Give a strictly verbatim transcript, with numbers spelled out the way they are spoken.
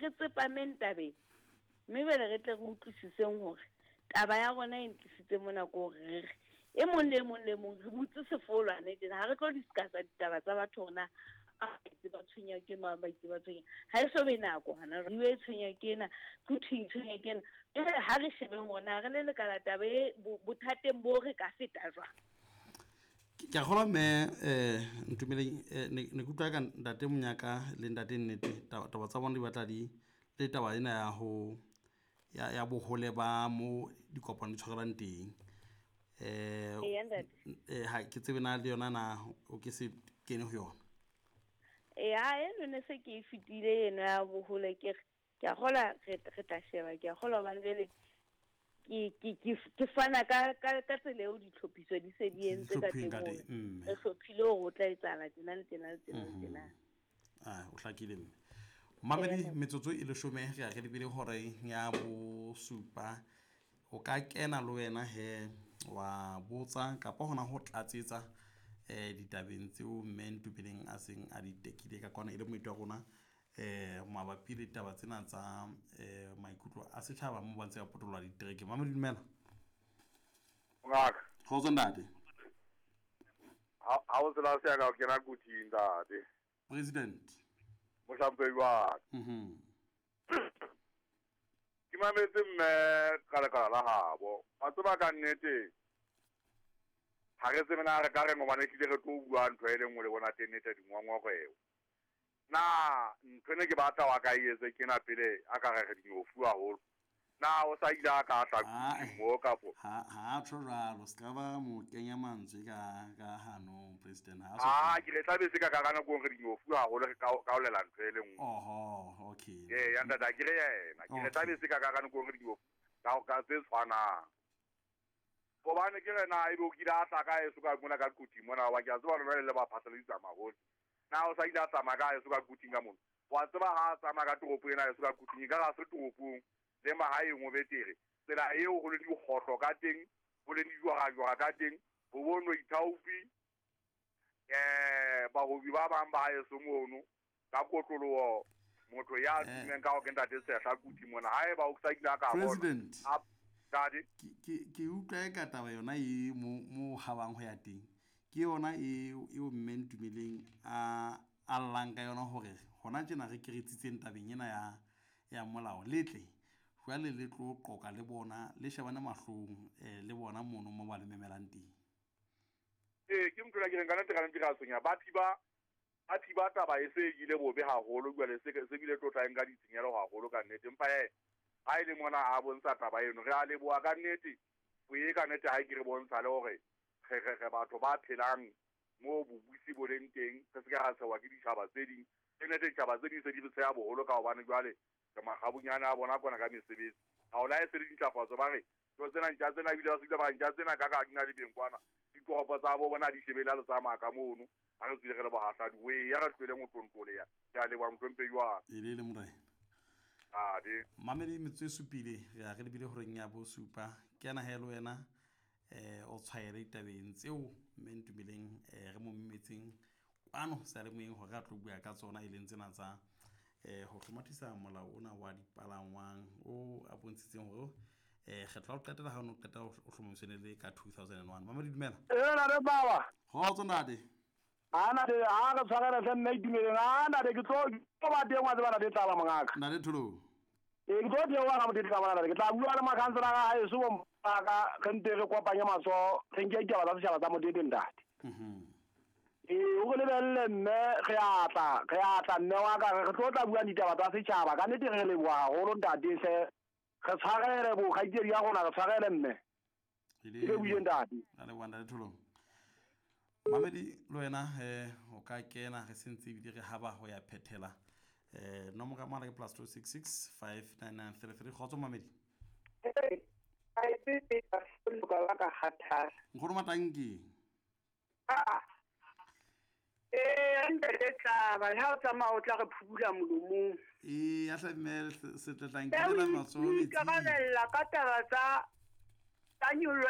re tsepameng tabeng mme bele re tle re utlwisiseng hore taba ya rona e ntlisitse mona ko hore re re e mong le e mong le mong re butse sefolwane tjena ha re tlo discussa ditaba tsa batho hore na ba itse ba tshwenya ke mang, ba itse ba tshwenya ha e so be nako hana re e tshwenya ke ena Quthing e tshwenya ke ena. Jwale ha re shebeng hore na re le lekala taba e bothateng bo re ka feta jwang. Ke a kgolwa mme um Ntumeleng eh, ne ne ke utlwa ka ntate Monyaka le ntate Nnete taba taba tsa bona di batla di le taba ena ya ho ya ya bohole ba mo dikopano di tshwarelwang teng. Eh Eya ntate. eh ha ke tsebe na le yona na o ke se kene ho yona. Eya eno ne se ke e fetile eno ya bohole ke re ke a kgolwa re re tla sheba ke a kgolwa hobane jwale ke ke ke ke fana ka ka ka tsela eo ditlhophiso di se di entse ka Hlophilweng teng ka hore teng, mme. re hlophile hore o tla etsahala tjena le tjena le tjena le tjena. Ah, o hlakile mme. Mamedi Eya. metsotso e leshome re ya re lebile hore ya bosupa o ka kena le wena he wa botsa kapa hona ho tlatsetsa eh ditabeng tseo mme Ntumeleng a seng a di tekile ka kwana e le moeti wa rona eh mabapi le ditaba tsena tsa eh maikutlo a setjhaba mo ba ntse ba potoloha ditereke. Mamedi dumela. Ngaka. Kgotso ntate. Ha ha o tsela se ya ka o kena Quthing ntate. President. Mohlomphehi wa ka. Mhm. Ke mametse mme ka lekala la habo. Wa tseba ka nnete ha re tsebe na re ka reng hobane ehlile re tlo bua ntho e le nngwe le bona teng nnete dingongoreo. Na ntho ene ke batla wa ka e etse kena pele a ka re re dinyofu haholo. Na o sa ile a ka tla Ah, Quthing mo kapo? Ha ha tjho jwalo se ka ba mo kenya mantswe ka ka hanong president ha so. Ah, ke re tlabe se ka ka nako re dinyofu haholo re ka kaolela ntho e le nngwe. Oho, okay. Ee, ya ntate ke re yena. Ke re tlabe se ka ka nako re dinyofu ka ka tse tshwanang. Hobane ke re na ebe o kile a tla ka eso ka mona ka Quthing mona wa ke a tseba lona le le ba phatlaladitsa mahole. Na o sa ile a tsamaya ka eso ka Quthing ka mona. Wa tseba ha a tsamaya ka toropo ena eso ka Quthing e ka re ha se toropong le mahaeng o betere. Tsela eo ho le dikgohlo ka teng, ho le dijwara-jwara ka teng, ho bonwe ithaopi eh bahobi ba bang ba haeso mono ka kotloloho motho ya Eh. tummeng ka ho ke ntate Sehla Quthing mona haeba o sa ile a ka bona. President. A ntate. Ke ke ke utlwa e ka taba yona e mo mo habang ho ya teng. Ke yona e eo mme Ntumeleng a a llang ka yona hore hona tjena re keretsitseng tabeng ena ya ya molao letle jwale le tlo qoka le bona le shebane mahlong eh le bona mono mo ba le memelang teng. Ee, ke ntho ke reng ka nnete ka nnete ka tshwenya. Ba thiba ba thiba taba e se e ile bobe haholo jwale se se bile tlo tla nka ditshenyehelo haholo ka nnete. Empa he ha e le mona a bontsha taba eno re a leboha ka nnete. O e ka nnete ha ke re bontsha le hore re re re batho ba phelang mo bobusi bo leng teng re se ke ra tshewa ke ditjhaba tse ding. Ke nnete ditjhaba tse ding se di re tsheha boholo ka hobane jwale re makgabunyane a bona kwana ka mesebetsi. Ha o la e se le dintlafatso ba re ntho tsena ntja tsena ebile ba se ba ntja tsena ka ka di na le beng kwana. Ditoropo tsa bo bona di shebele ha le tsamaya ka mono. Ha re tswile re le bohahladi we ya re tlohele motlontlo ya. Ke a leboha mohlomphehi wa ka. E le le morena. Ade. Mamedi metsotso e supile re ya re lebile horeng ya bosupa. Ke ena he le wena eh o tshwaele ditabeng tseo mme Ntumeleng eh re mo memetseng kwano seyalemoyeng hore a tlo bua ka tsona e leng tsena tsa eh ho hlomathisa molao ona wa dipalangwang o a bontshitseng hore eh kgetlo la ho qetela ha o no qeta ho hlomamiswa le ka two thousand and one. Mamedi dumela. Ee, ntate Baba. Kgotso ntate. Ha ntate, ha re tshwarele hle mme Itumeleng. Ha ntate ke tlo ke tlo ba teng wa tseba ntate Tlaba mongaka. Ntate Tholo. Ee, ke tlo theoha ka motete Tlaba ntate. Ke tla bua le makhanselara a heso bo mpaka re nte re kopanye matsoho re nke ditaba tsa setjhaba tsa motete ntate. Mhm. Ee, o re lebelle mme re a tla, re a tla mme wa ka re tlo tla bua ditaba tsa setjhaba. Ka nnete re leboha haholo ntate hle. Re tshwarele bo kgaitsedi ya rona, re tshwarele mme. E Ke lebohile ntate. A leboha ntate Tholo. Mamedi le wena eh o ka kena re sentse ebile re haba ho ya phethela. Eh nomoro ya mohala ke plus two six six five nine nine three three. Kgotso Mamedi. Nkgono Matanki. Ah. Eh, ntate Tlaba, ha o tsamaya o tla re phubula molomong. Ee, ya hle mme se tla tlang Ke ke matsoho metsing. ikarabella ka taba tsa tsa nyollo